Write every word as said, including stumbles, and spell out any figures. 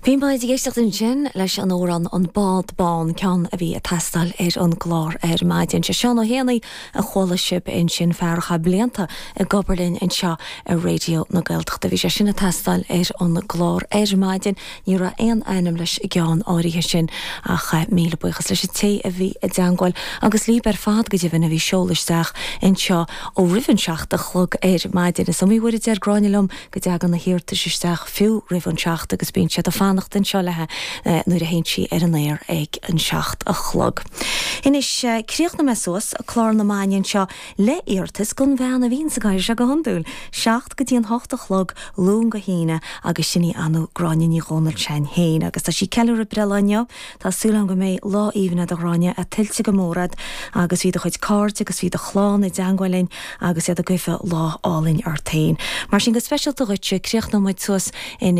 Bhí muid ag éisteacht ansin leis an amhrán an Bád Bán ceann a bhí ag teastáil ar an gclár ar maidin. Sé Seán Ó hÉanaí a chuala sibh ansin fear atá blianta ag obair linn anseo ar Raidió na Gaeltachta. Bhí sé sin ag teastáil ar an gclár ar maidin, ní raibh aon ainm leis an gceann áirithe sin ach eh, míle buíochas leis an té a bhí i dteagmháil agus libh ar fad go deimhin a bhí ag seoladh isteach anseo ó roimh an seacht a chlog ar maidin. Is iomaí uair a deir Gráinne liom go dtagann na hiarratais isteach fiú roimh an seacht agus bíonn siad ag fanacht anseo léi eh, nuair a théann sí ar an aer ag an seacht a chlog. Anois eh, críochnóidh mé suas clár na maidine seo le hiarratas gon bhean a bhíonn sa gcathaoir seo go hiondúil, seacht go dtí an hocht a chlog Luan go hAoine agus sin í anu Gráinne Ní Dhomhnaill sin féin, agus tá sí ag ceiliúradh breithlá inniu Tá súil agam go mbeidh lá aoibhinn agat a Ghráinne a tuillte go mór agat agus bhí do chuid cairde agus bhí do chlann i dteagmháil linn agus iad ag guí lá álainn ort féin. Mar sin go speisialta dhuitse críochnóidh muid suas in